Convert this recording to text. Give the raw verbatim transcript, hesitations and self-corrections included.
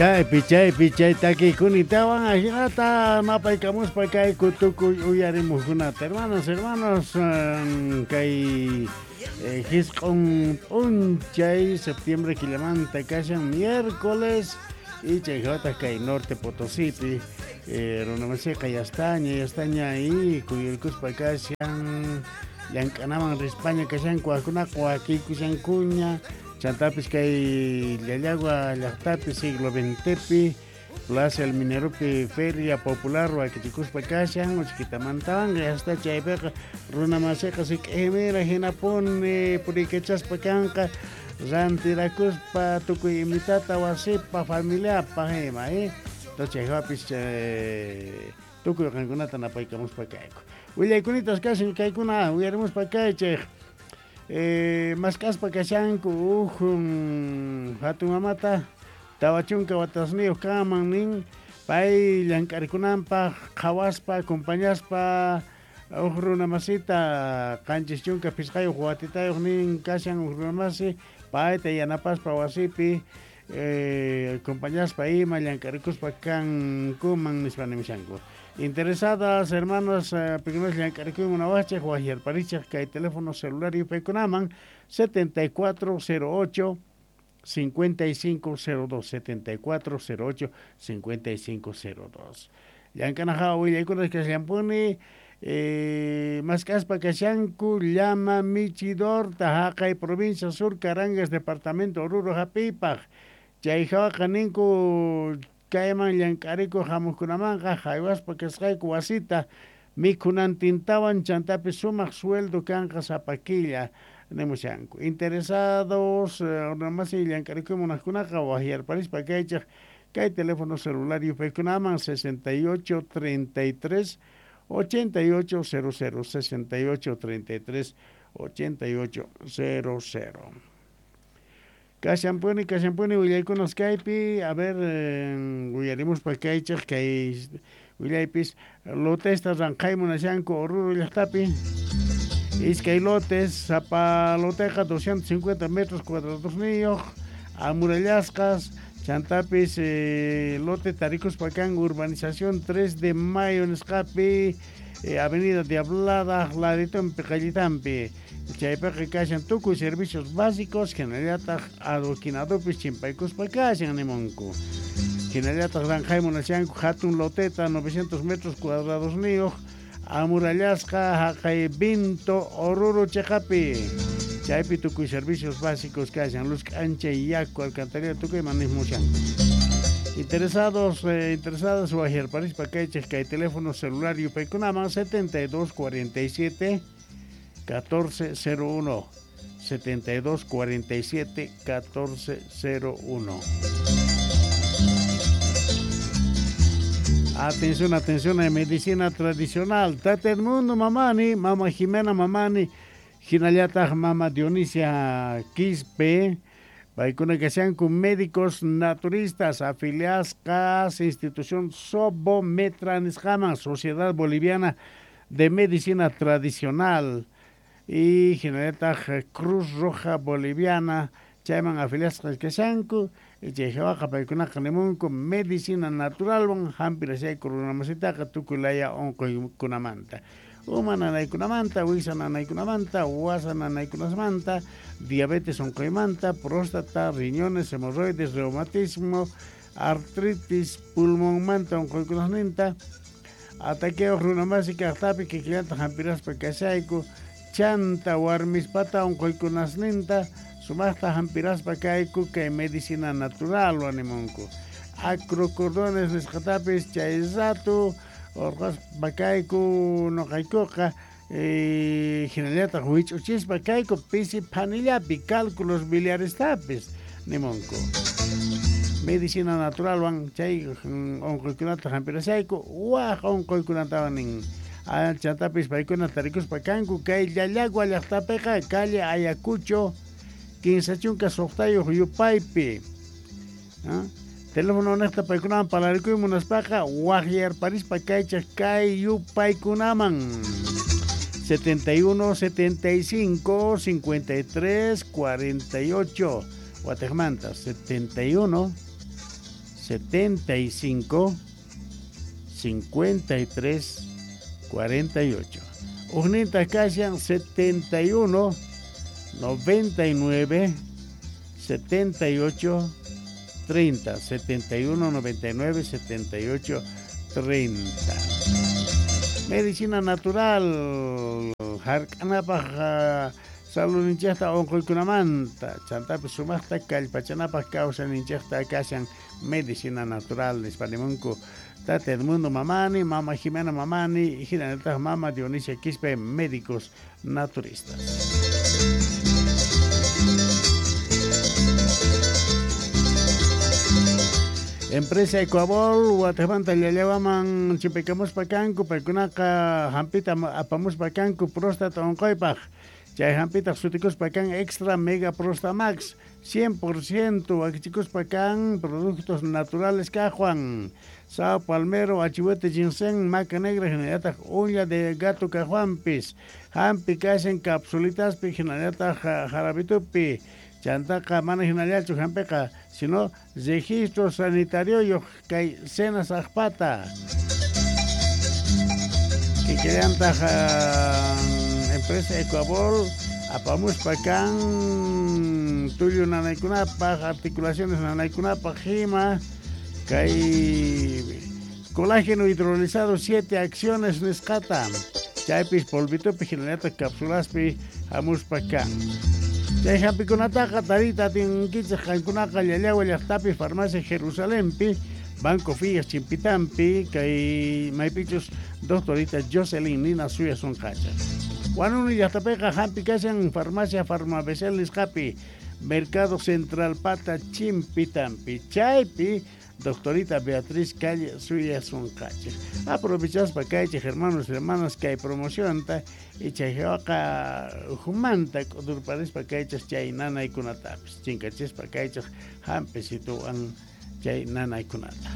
Chaypi chaypi chay takiykunatawan ajinata napaykamuspa kayku tukuy uyarimuqkunata. Hermanos, hermanos, kay jisq'un p'unchay septiembre killamanta kashan miércoles y chayjawataq kay Norte Potosípi runamasiqa yastaña yastaña y kuyurkuspa kashan llank'anaman rispaña kashanku wajkunaqa wakiykushankuña. Chantapis kay Llallagua llaqtapi siglo veintepi Plaza El Mineropi Feria Popular wakichikuspa kashan uchkitamantawan hasta chaypiqa runamasiqa sik'imira hinapuni puriykachaspa kanqa rantirakuspa tukuy imitata wasipa familiapa ima eh entonces chayjawapis tukuy qankunata napaykamuspa kayku willaykunitas kashan kaykuna uyarimuspa kaychej. Eh, mask'aspa kashanku uj hatun mamata tawa chunka watasniyuq kanman nin pay llank'arikunanpaq qhawaspa acompañaspa uj runamasita qanchis chunka phisqayuq watitayuq nin kashan uj runamasi payta yanapaspa wasipi eh, acompañaspa ima llank'arikuspa kankuman nispa nimushanku. Interesadas, hermanos, pequeños llank'arikuy munawachej wajyarparichej kay teléfono celular yupaykunaman setenta y cuatro cero ocho cincuenta y cinco cero dos setenta y cuatro cero ocho cincuenta y cinco cero dos. Llank'anajawa willaykunas kashanpuni eh, mask'aspa kashanku llama michidorta haqay provincia Sur Carangas departamento Oruro hap'iypaq chayjawaqa ninku kayman llank'arikuq hamuqkunamanqa haywaspa kasqayku wasita mikhunantintawan chantapis sumaq sueldo kanqa sapa killa nimushanku. Interesados runamasi llank'arikuy munaqkunaqa wajyarparispa kaychej kay teléfono celular yupaykunaman sesenta y ocho treinta y tres ochenta y ocho cero cero sesenta y ocho treinta y tres ochenta y ocho cero cero. Kashanpuni, kashanpuni willaykunas kaypi, a ver, uyarimuspa kaychej kay willaypis lotesta ranqhay munashanku Oruro llaqtapi iskay lotes, sapa loteqa doscientos cincuenta metros cuadradosniyuq amurallasqas chantapis eh, lote tarikuspa kan urbanización tres de mayo nisqapi eh, avenida Diablada laditonpi qallitanpi chaypiqa kashan tukuy servicios básicos hinallataq adoquinadopis chimpaykuspa kashan nimunku hinallataq ranqhay munashanku hatun loteta novecientos metros cuadradosniyuq amurallasqa haqay Vinto Oruro chiqapi chaypi tukuy servicios básicos kashan luz k'anchay yaku alcantarilla tukuy manismushanku. Interesados, eh, interesadas wajyarparispa kaychej kay teléfono celular yupaykunaman setenta y dos cuarenta y siete catorce cero uno setenta y dos cuarenta y siete catorce cero uno. Atención, atención a medicina tradicional. Tata Edmundo Mamani, Mama Jimena Mamani, hinallataq Mama Dionisia Quispe, paykuna kashanku médicos naturistas afiliasqas institución Sobometra nisqaman, Sociedad Boliviana de Medicina Tradicional y hinallataq Cruz Roja Boliviana chayman afiliasqas kashanku chayjawaqa paykunaqa nimunku medicina naturalwan hampirashayku runamasitaqa tukuy laya unquykunamanta uma nanaykunamanta, wiksa nanaykunamanta, wasa nanaykunasmanta, diabetes unquymanta, próstata, riñones, hemorroides, reumatismo, artritis, pulmonmanta unquykunasninta, ataqueo runamasi kaqtapi kikillanta hampiraspa kashayku, chanta warmispata unquykunasninta, sumaqta hampiraspa kayku kay medicina natural animunku. Acrocordones nisqatapis chay rato orqaspa kayku noqaykuqa eh, hinallataq wich'uchispa kayku pisi phanillapi cálculos biliarestapis nimunku. Medicina naturalwan chay unquykunata hampirashayku waj unquykunatawan nin. Chantapis paykuna tarikuspa kanku kay Llallagua llaqtapiqa calle Ayacucho kinsa chunka suqtayuq yupaypi. ¿Ah? Teléfono niqta paykunaman parlarikuy munaspaqa wajyarparispa kaychej kay yupaykunaman setenta y uno, setenta y cinco, cincuenta y tres, cuarenta y ocho Guatemala setenta y uno, setenta y cinco cincuenta y tres cuarenta y ocho. Ujninta kashan setenta y uno noventa y nueve setenta y ocho treinta, setenta y uno noventa y nueve setenta y ocho treinta. Medicina natural, hark'anapaj saludninchejta onqoykunamanta, chantapis sumaqta kallpachanapaj kawsayninchejta kashan medicina natural nispa nimunku Tata Edmundo Mamani, Mama Jimena Mamani, hinallataq Mama Dionisia Quispe, médicos naturistas. Empresa Ecuabol, Guatemala, Llallawaman, chimpikamuspa kanku, paykunaqa hampita apamuspa kanku, próstata onqoypaj. Chay hampitaq sutikuspa kan Extra Mega Prostamax, cien por ciento wakichikuspa kan productos naturales kajwan. Sao palmero, achihuete, ginseng, maca negra, hinallataq uña de gato kajwanpis. Hampi kashan capsulitaspi, hinallataq jarabitupi. Chantaqa mana hinallachu hampiqa, sino registro sanitario kay cenas ajpata. Kikillantaq empresa Ecuabol apamuspa kan tullu nanaykunapaj, articulaciones nanaykunapaj hima kay colágeno hidrolizado siete acciones nisqata. Chaypis polvitupi hinallataq capsulaspi hamuspa kan. Chay hampikunataqa tarita atinkichej qankunaqa Llallawa llaqtapi farmacia Jerusalempi, Banco Fillas Chimpitampi, kay maypichus doctorita Jocelyn Nina Suya Sonqacha. Huanuni llaqtapiqa hampi kashan farmacia Farmabecel nisqapi, Mercado Central Pata Chimpitampi, chaypi doctorita Beatriz Calle Suya Sonqacha. Aprovechaspa kaychej hermanos y hermanas kay promocionta y chayqa humanta k'udurparispa kaychej chay nanaykunatapis chinkachispa kaychej hampisituwan chay nanaykunata.